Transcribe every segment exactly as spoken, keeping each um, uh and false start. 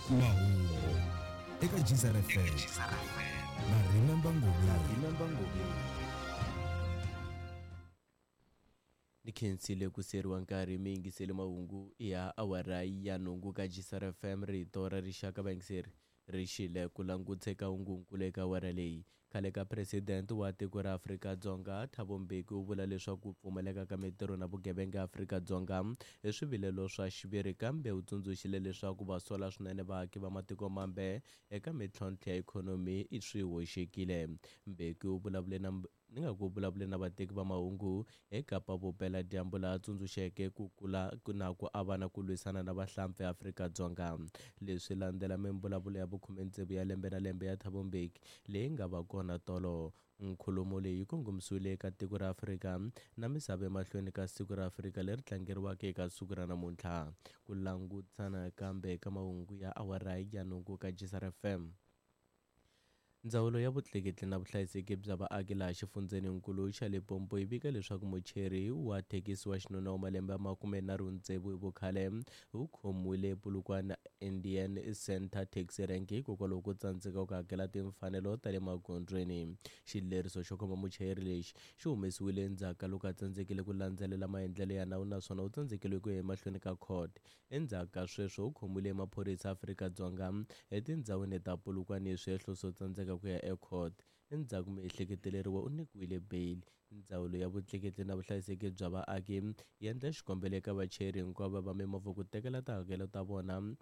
Mahungu eka Geyser F M na Remember Ngobeni. Ni khensile ku seriwa nkarhi mi yingisele mahungu ya awara ya nhungu ka Geyser F M rito ra rixaka vayingiseri ri xile ku languteka hungunkulu eka awara leyi. Khale ka president wa tiko ra Afrika-Dzonga Thabo Mbeki u vula leswaku ku pfumaleka ka mitirho na vugevenga Afrika-Dzonga i swivilelo swa xiviri, kambe u tsundzuxile leswaku va sola swinene vaaki va matiko mambe eka mintlhontlho ya ikhonomi i swi hoxekile. Mbeki u vulavule na ni nga ku vulavule na vateki va mahungu eKapa Vupeladyambu laha tsundzuxeke ku kula na ku avana ku lwisana na vahlampfa eAfrika-Dzonga. Leswi landzela mimbulavulo ya vukhume tsevu ya lembe na lembe ya Thabo Mbeki leyi nga va kona tolo. Nkulumo leyi yi kongomisiwile eka tiko ra Afrika na misava emahlweni ka siku ra Afrika leri tlangeriwaka eka siku ra namuntlha. Ku langutana kambe eka mahungu ya awara ya nhungu ka Geyser F M. Ndzawulo ya vutleketli na vuhlayiseki bya vaaki laha xifundzheninkulu xa Limpopo yi vika leswaku mucheri wa thekisi wa xinuna wa malembe ya makume nharhu tsevu hi vukhale u khomiwile Polokwane Indian Center Taxi Rank hikokwalaho ko tsandzeka ku hakela timfanelo ta le magondzweni. Xileriso xo khoma muchayeri lexi xi humesiwile endzhaku ka loko a tsandzekile ku landzelela maendlelo ya nawu naswona u tsandzekile ku ya emahlweni ka court. Endzhaku ka sweswo u khomiwile maphorisa Afrika-Dzonga etindhawini ta Polokwane hi swihehlo swo tsandzeka ku ya ecourt. Endzhaku miehleketeleriwa u nyikiwile bail. Ndzawulo ya vutleketli na vuhlayiseki bya vaaki yi endla xikombelo eka vachayeri hinkwavo va mimovha ku tekela tihakelo ta vona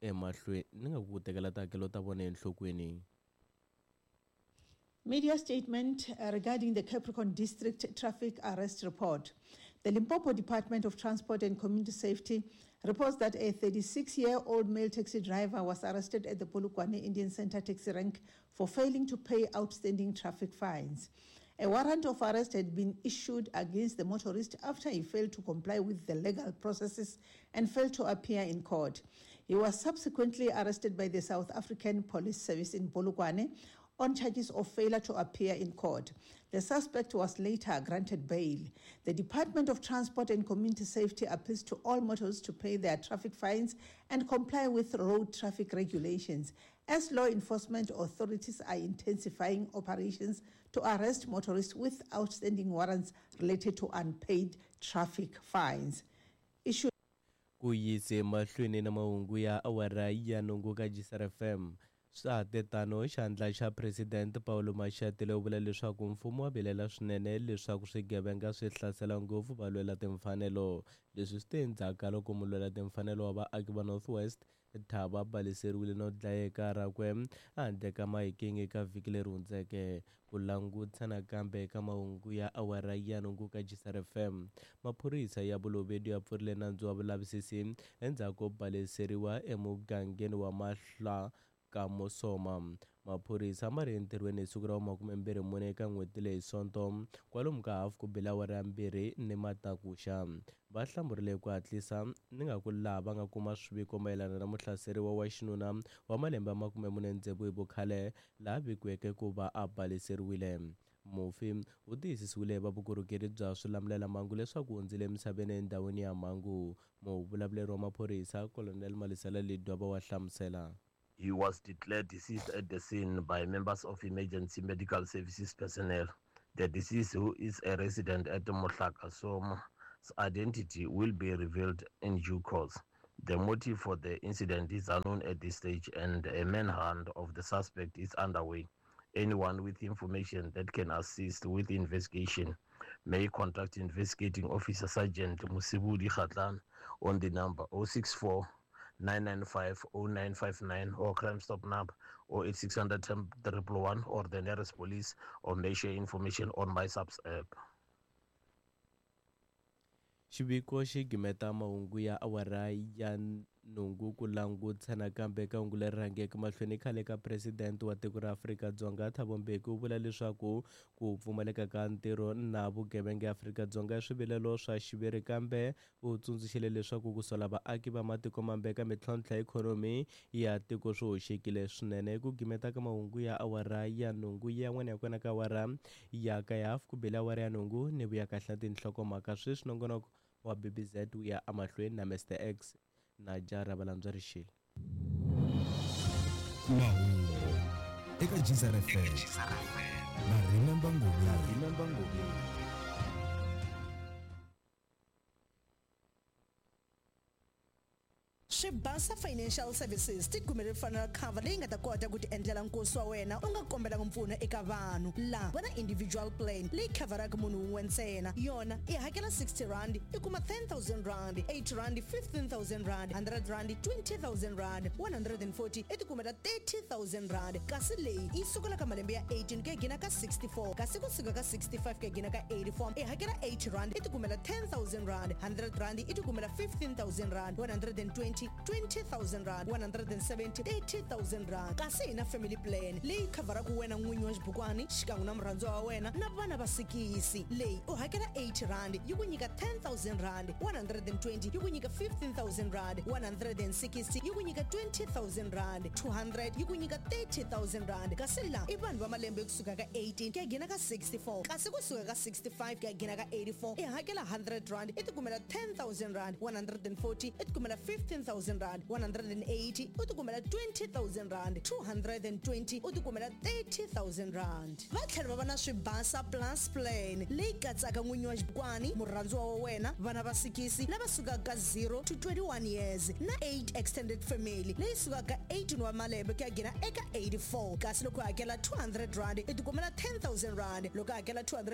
emahlweni ni nga ku tekela tihakelo ta vona enhlokweni. Media statement regarding the Capricorn District Traffic Arrest Report. The Limpopo Department of Transport and Community Safety reports that a thirty-six-year-old male taxi driver was arrested at the Polokwane Indian Center taxi rank for failing to pay outstanding traffic fines. A warrant of arrest had been issued against the motorist after he failed to comply with the legal processes and failed to appear in court. He was subsequently arrested by the South African Police Service in Polokwane on charges of failure to appear in court. The suspect was later granted bail. The Department of Transport and Community Safety appeals to all motorists to pay their traffic fines and comply with road traffic regulations, as law enforcement authorities are intensifying operations to arrest motorists with outstanding warrants related to unpaid traffic fines. Issue ku yise mahlweni na mahungu ya awara ya nhungu ka Geyser F M. Swa ha tano, xandla xa President Paulo Mashatile u vula leswaku mfumo wa vilela swinene leswaku swigevenga swi hlasela ngopfu valwela timfanelo. Leswi swi te endzhaku ka loko mulwela timfanelo wa vaaki va North West Thabo a baleseriwile no dlayeka rakwe handle ka Mahikeng eka vhiki leri hundzeke. Ku langutisa nakambe eka mahungu ya awara ya nhungu ka Geyser F M. Maphorisa ya Bolobedu ya pfurile nandzu wa vulavisisi endzhaku ko baleseriwa emugangeni wa Mahla ka Mosoma. Maphorisa ma ri entirhweni hi siku ra makume mbirhi mune eka n'hweti leyi Sonto kwalomu ka hafu ku bile awara ya mbirhi ni matakuxa. Va hlamurile ku hatlisa ni nga ku laha va nga kuma swiviko mayelana na muhlaseriwa wa xinuna wa malembe ya makume mune tsevu hi vukhale laha vikiweke ku va a baleseriwile. Mufi u tiyisisiwile hi va vukorhokeri bya swilamulelamhangu leswaku hundzile emisaveni endhawini ya mhangu. Muvulavuleri wa maphorisa Colonel Malisela Ledwaba wa hlamusela. He was declared deceased at the scene by members of emergency medical services personnel. The deceased, who is a resident at Mohlaka Soma's identity will be revealed in due course. The motive for the incident is unknown at this stage, and a manhunt of the suspect is underway. Anyone with information that can assist with the investigation may contact investigating officer Sergeant Musibudi Khatlan on the number oh six four, nine nine five, oh nine five nine or Crime Stop number oh eight six hundred ten triple one or the nearest police, or may share information on MySAPS app. Xiviko xi gimeta mahungu ya awara ya nhungu ku langutisa nakambe eka hungu leri rhangeke mahlweni. Khale ka president wa tiko ra Afrika-Dzonga Thabo Mbeki u vula leswaku ku pfumaleka ka ntirho na vugevenga eAfrika-Dzonga i swivilelo swa xiviri, kambe u tsundzuxile leswaku ku sola vaaki va matiko mambe eka mintlhontlho ya ikhonomi ya tiko swi hoxekile swinene. Ku gimeta ka mahungu ya awara ya nhungu yan'wana ya kona ka awara ya ka ya hafu ku bile awara ya nhungu ni vuya kahle tinhlokomhaka sweswi. Nongonoko wa B B Z wu ya emahlweni na Mister X na Jara Valandzwa Rixile. Mahungu eka Geyser F M na Remember Ngobeni. Remember Ngobeni. Swibasa Financial Services ti kumele funeral cover leyi nga ta kota ku ti endlela nkosi wa wena u nga kombelanga mpfuno eka vanhu. Laha va na individual plan leyi khavharaka munhu wun'we ntsena. Yona i hakela sixty rand i kuma ten thousand rand, eight rand fifteen thousand rand, hundred rand twenty thousand rand, one hundred and forty i ti kumela thirty thousand rand. Kasi leyi yi sukela ka malembe ya eighteen ku ya gina ka sixty-four, kasi kusuka ka sixty-five ku ya gina ka eighty-four i hakela eight rand i ti kumela ten thousand rand, hundred rand i ti kumela fifteen thousand rand, one hundred and twenty twenty thousand rand, one hundred and seventy thirty thousand rand. Kasi hi na family plan leyi khavharaka wena n'winyi wa xibukwani xikan'we na murhandziwa wa wena na vana va sikisi. Leyi u hakela eight rand yi ku nyika ten thousand rand, one hundred and twenty yi ku nyika fifteen thousand rand, one hundred and sixty yi ku nyika twenty thousand rand, two hundred yi ku nyika thirty thousand rand. Kasi laha i vanhu va malembe kusuka ka eighteen ku ya gina ka sixty-four, kasi kusuka ka sixty-five ku ya gina ka eighty-four i hakela hundred rand i tikumela ten thousand rand, one hundred and forty i tikumela fifteen thousand rand, one hundred and eighty u tikumela twenty thousand rand, two hundred and twenty u tikumela thirty thousand rand. Va tlhela va va na Swibasa Plus plan leyi katsaka n'winyi wa xibukwani, murhandziwa wa wena, vana va sikisi lava sukaka ka zero to twenty-one years na eight extended family leyi sukaka ka eighteen wa malembe ku ya gina eka eighty-four. Kasi loko u hakela two hundred rand i tikumela ten thousand rand, loko u hakela two hundred